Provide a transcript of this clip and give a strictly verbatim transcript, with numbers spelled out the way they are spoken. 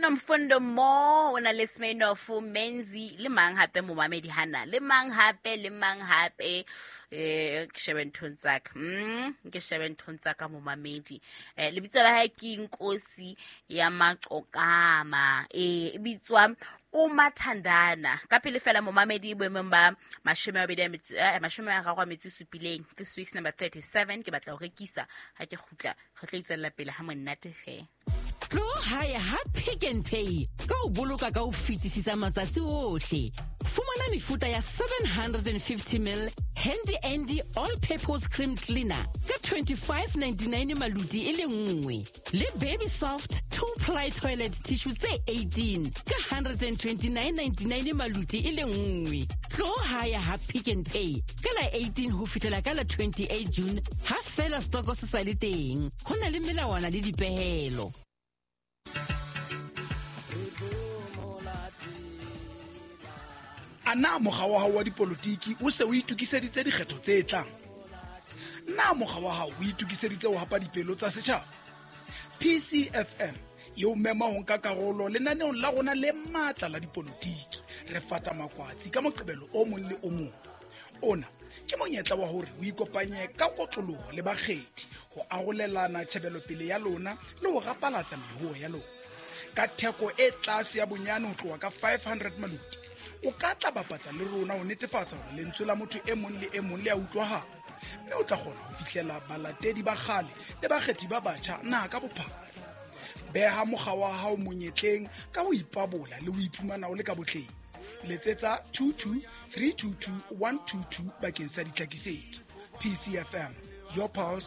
Nomfundo Mo o na le Smirnoff Menzi le mang hape momamedi hana le mang hape le mang hape eh ke shebe nthong tsaka mm ke shebe nthong tsaka momamedi eh lebitso la hae ke Nkosi ya Maqokama eh e bitswa Umathandana ka pele fela momamedi boemong ba mashome a mabedi a metso eh, mashome a mararo a metso e supileng. This week's number thirty-seven ke batla ho rekisa ha ke kgutla re tlo itswella pele ha monate ge. Tlo hae ha Pick n Pay ka ho boloka ka ho fetisisa matsatsi ohle. Fumana mefuta ya seven hundred fifty mil Handy Andy all purpose cream cleaner ka twenty-five ninety-nine maluti e le nngwe, le Baby Soft two ply toilet tissue tse eighteen ka one twenty-nine ninety-nine maluti e le nngwe. Tlo hae ha Pick n Pay ka la eighteen ho fihlela ka la twenty-eight June ha fela stoko se sa le teng. Ho na le melawana le dipehelo. A na mokga wa hao wa dipolotiki o se o itokiseditse dikgetho tse tlang? Na mokga wa hao o itokiseditse ho hapa dipelo tsa setjhaba? P C F M e o mema ho nka karolo lenaneong la rona le matla la dipolotiki, Re Fata Makwatsi, ka Moqebelo o mong le o mong. Ona ke monyetla wa hore o ikopanye ka kotloloho le bakgethi ho arolelana tjhebelopele ya lona le ho rapalatsa mehoo ya lona. Ka theko e tlase ya bonyane ho tloha ka five hundred maluti, o ka tla bapatsa le rona ho netefatsa hore lentswe la motho e mong le e mong le a utlwahala, mme o tla kgona ho fihlela balatedi ba kgale le bakgethi ba batjha naha ka bophara. Beha mokga wa hao monyetleng ka ho ipabola le ho iphumana o le ka botleng. Letsetsa two two three two two one two two bakeng sa ditlhakisetso. P C F M, your pulse.